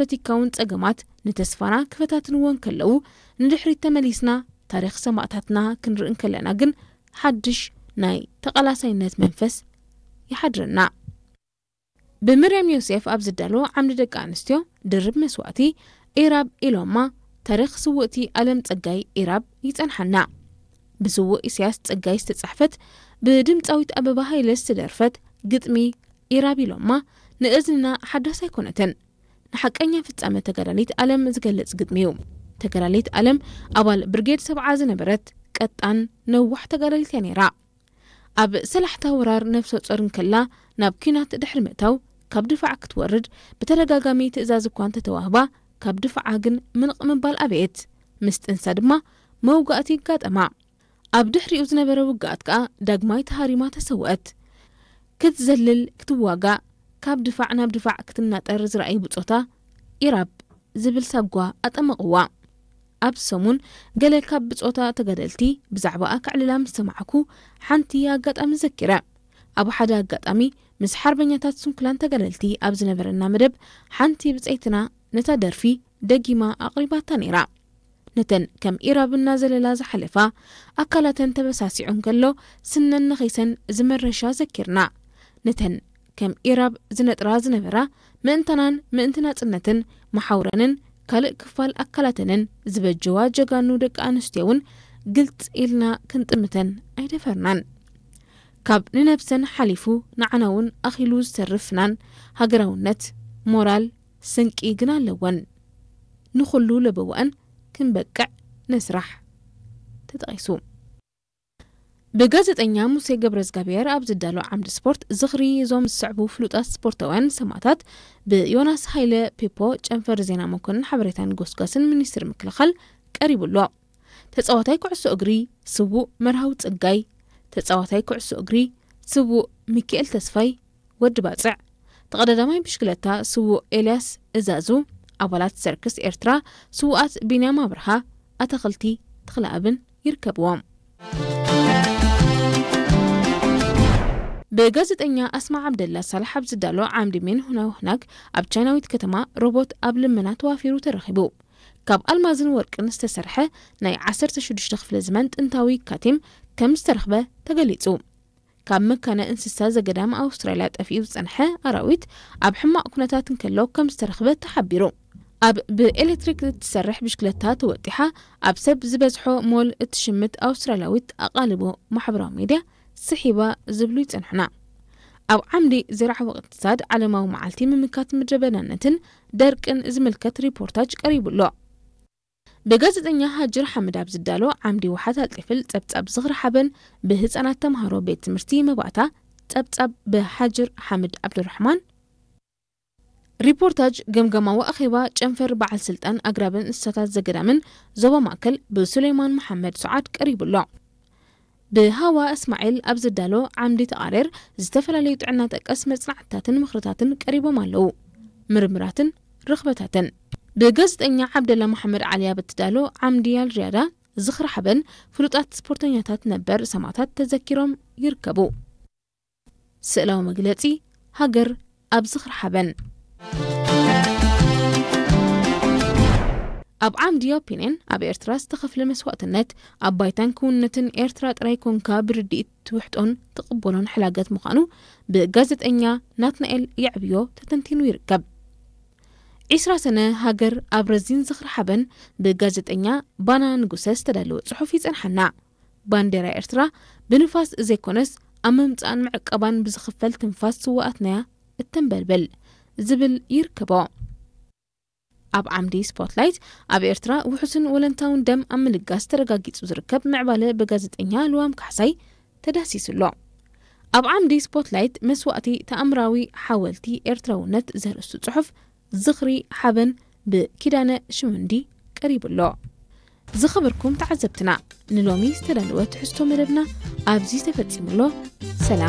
ፖለቲካውን ጸገማት ንተስፋና ክፈታትንዎ እንከለዉ፣ ንድሕሪት ተመሊስና ታሪኽ ሰማእታትና ክንርኢ እንከለና ግን ሓድሽ ናይ ተቓላሳይነት መንፈስ ይሓድረና። ብምርያም ዮሴፍ ኣብ ዝዳሎ ዓምዲ ደቂ ኣንስትዮ ድርብ መስዋእቲ ኢራብ ኢሎማ ታሪኽ ስውእቲ ኣለም ጸጋይ ኢራብ ይጸንሓና። ብስዉእ ኢሳያስ ጸጋይ ዝተጻሕፈት ብድምጻዊት ኣበባ ሃይለ ዝተደርፈት ግጥሚ ኢራብ ኢሎማ ንእዝንና ሓዳስ ኣይኮነትን። ንሓቀኛ ፍጻመ ተጋዳሊት ኣለም ዝገልጽ ግጥሚ እዩ። ተጋዳሊት ኣለም ኣባል ብርጌድ ሰብዓ ዝነበረት ቀጣን ነዋሕ ተጋዳሊት እያ ነይራ። ኣብ ሰላሕታ ወራር ነፍሰ ጾር እንከላ ናብ ኲናት ድሕሪ ምእታው ካብ ድፋዕ ክትወርድ ብተደጋጋሚ ትእዛዝ እኳ እንተተዋህባ ካብ ድፋዓ ግን ምንቕ ምባል ኣበየት። ምስ ጥንሳ ድማ መውጋእቲ ይጋጠማ። ኣብ ድሕሪኡ ዝነበረ ውግኣት ከኣ ዳግማይ ተሃሪማ ተሰውአት። ክትዘልል ክትዋጋእ ካብ ድፋዕ ናብ ድፋዕ ክትናጠር ዝረኣዩ ብጾታ ኢራብ ዝብል ሳጓ ኣጠመቕዋ። ኣብ ሰሙን ገለ ካብ ብጾታ ተጋደልቲ ብዛዕባኣ ከዕልላ ምስ ሰማዕኩ ሓንቲ ኣጋጣሚ ዘኪረ። ኣብ ሓደ ኣጋጣሚ ምስ ሓርበኛታት ስንኩላን ተጋደልቲ ኣብ ዝነበረና መደብ ሓንቲ ብጸይትና ነታ ደርፊ ደጊማ ኣቕሪባታ ነይራ። ነተን ከም ኢራብ እናዘለላ ዝሓለፋ ኣካላተን ተበሳሲዑ እንከሎ ስነን ነኺሰን ዝመረሻ ዘኪርና። ነተን ከም ኢራብ ዝነጥራ ዝነበራ ምእንታናን ምእንቲ ናጽነትን መሓውረንን ካልእ ክፋል ኣካላተንን ዝበጀዋ ጀጋኑ ደቂ ኣንስትዮ እውን ግልጽ ኢልና ክንጥምተን ኣይደፈርናን። ካብ ንነብሰን ሓሊፉ ንዓና እውን ኣኺሉ ዝተርፍ ፍናን ሃገራውነት፣ ሞራል፣ ስንቂ ግን ኣለወን። ንኹሉ ለበዋእን ክንበቅዕ ንስራሕ። ተጠቒሱ። ብጋዜጠኛ ሙሴ ገብረዝጋብሔር ኣብ ዝዳሎ ዓምዲ ስፖርት ዝኽሪ እዞም ዝስዕቡ ፍሉጣት ስፖርታውያን ሰማእታት ብዮናስ ሃይለ ፔፖ ጨንፈር ዜና መኮንን ሓበሬታን ጎስጓስን ሚኒስትሪ ምክልኻል ቀሪቡ ኣሎ። ተጻዋታይ ኩዕሶ እግሪ ስዉእ መርሃዊ ጸጋይ፣ ተጻዋታይ ኩዕሶ እግሪ ስዉእ ሚኪኤል ተስፋይ፣ ወዲ ባጽዕ፣ ተቐዳዳማይ ብሽክለታ ስዉእ ኤልያስ እዛዙ፣ ኣባላት ሰርክስ ኤርትራ ስዉኣት ቢንያም ኣብርሃ፣ ኣታኽልቲ ተኽለኣብን ይርከብዎም። ብጋዜጠኛ ኣስማ ዓብደላ ሳልሕ ኣብ ዝዳሎ ዓምዲ ሜን ሁናው ህናግ ኣብ ቻይናዊት ከተማ ሮቦት ኣብ ልመና ተዋፊሩ ተረኺቡ። ካብ ኣልማዝን ወርቅን ዝተሰርሐ ናይ ዓሰርተ ሽዱሽተ ክፍለ ዘመን ጥንታዊ ካቲም ከም ዝተረኽበ ተገሊጹ። ካብ መካነ እንስሳ ዘገዳም ኣውስትራልያ ጠፊኡ ዝጸንሐ ኣራዊት ኣብ ሕማቕ ኩነታት እንከሎ ከም ዝተረኽበ ተሓቢሩ። ኣብ ብኤሌክትሪክ እትሰርሕ ብሽክለታ ተወጢሓ ኣብ ሰብ ዝበዝሖ ሞል እትሽምት ኣውስትራልያዊት ኣቓልቦ ማሕበራዊ ሚድያ ስሒባ ዝብሉ ይጸንሑና። ኣብ ዓምዲ ዝርዓዊ እቕትሳድ ዓለማዊ መዓልቲ ምምካት ምድረ በዳነትን ደርቅን ዝምልከት ሪፖርታጅ ቀሪቡ ኣሎ። ብጋዜጠኛ ሃጅር ሓምድ ኣብ ዝዳሎ ዓምዲ ውሓት ኣልጢፍል ጸብጻብ ዝኽሪ ሓበን ብህጻናት ተምሃሮ ቤት ትምህርቲ መባእታ ጸብጻብ ብሃጅር ሓምድ ዓብዱራሕማን፣ ሪፖርታጅ ገምገማዊ ኣኼባ ጨንፈር በዓል ስልጣን ኣግራብን እንስሳታት ዘገዳምን ዞባ ማእከል ብሱሌማን መሓመድ ሱዓድ ቀሪቡ ኣሎ። ብሃዋ እስማዒል ኣብ ዝዳሎ ዓምዲ ተቓሬር ዝተፈላለዩ ጥዕና ጠቀስ መጽናዕትታትን ምኽርታትን ቀሪቦም ኣለዉ። ምርምራትን ርኽበታትን። ብጋዜጠኛ ዓብደላ መሓመድ ዓሊ ኣብ እትዳሎ ዓምዲ ኣልሪያዳ ዝኽሪ ሓበን ፍሉጣት ስፖርተኛታት ነበር ሰማእታት ተዘኪሮም ይርከቡ። ስእላዊ መግለጺ ሃገር ኣብ ዝኽሪ ሓበን። ኣብ ዓምዲ ኦፒንየን ኣብ ኤርትራ ዝተኸፍለ መስዋእትነት ኣብ ባይታን ክውንነትን ኤርትራ ጥራይ ኮንካ ብርድኢት ትውሕጦን ትቕበሎን ሕላገት ምዃኑ ብጋዜጠኛ ናትናኤል የዕብዮ ተተንቲኑ ይርከብ። ዒስራ ሰነ ሃገር ኣብ ረዚን ዝኽሪ ሓበን ብጋዜጠኛ ባና ንጉሰ ዝተዳለወ ጽሑፍ ይጸንሓና። ባንዴራ ኤርትራ ብንፋስ ዘይኮነስ ኣብ ምምጻእን ምዕቀባን ብዝኽፈል ትንፋስ ስውኣትናያ እተንበልብል ዝብል ይርከቦ። ኣብ ዓምዲ ስፖትላይት ኣብ ኤርትራ ውሑስን ወለንታውን ደም ኣብ ምልጋስ ተረጋጊጹ ዝርከብ ምዕባለ ብጋዜጠኛ ልዋም ካሕሳይ ተዳሲሱ ኣሎ። ኣብ ዓምዲ ስፖትላይት መስዋእቲ ተኣምራዊ ሓወልቲ ኤርትራውነት ዘርእስቱ ጽሑፍ ዝኽሪ ሓበን ብኪዳነ ሽውንዲ ቀሪቡ ኣሎ። ዝኸበርኩም ተዓዘብትና፣ ንሎሚ ዝተዳለወ ትሕዝቶ መደብና ኣብዚ ተፈጺሙ ኣሎ። ሰላም።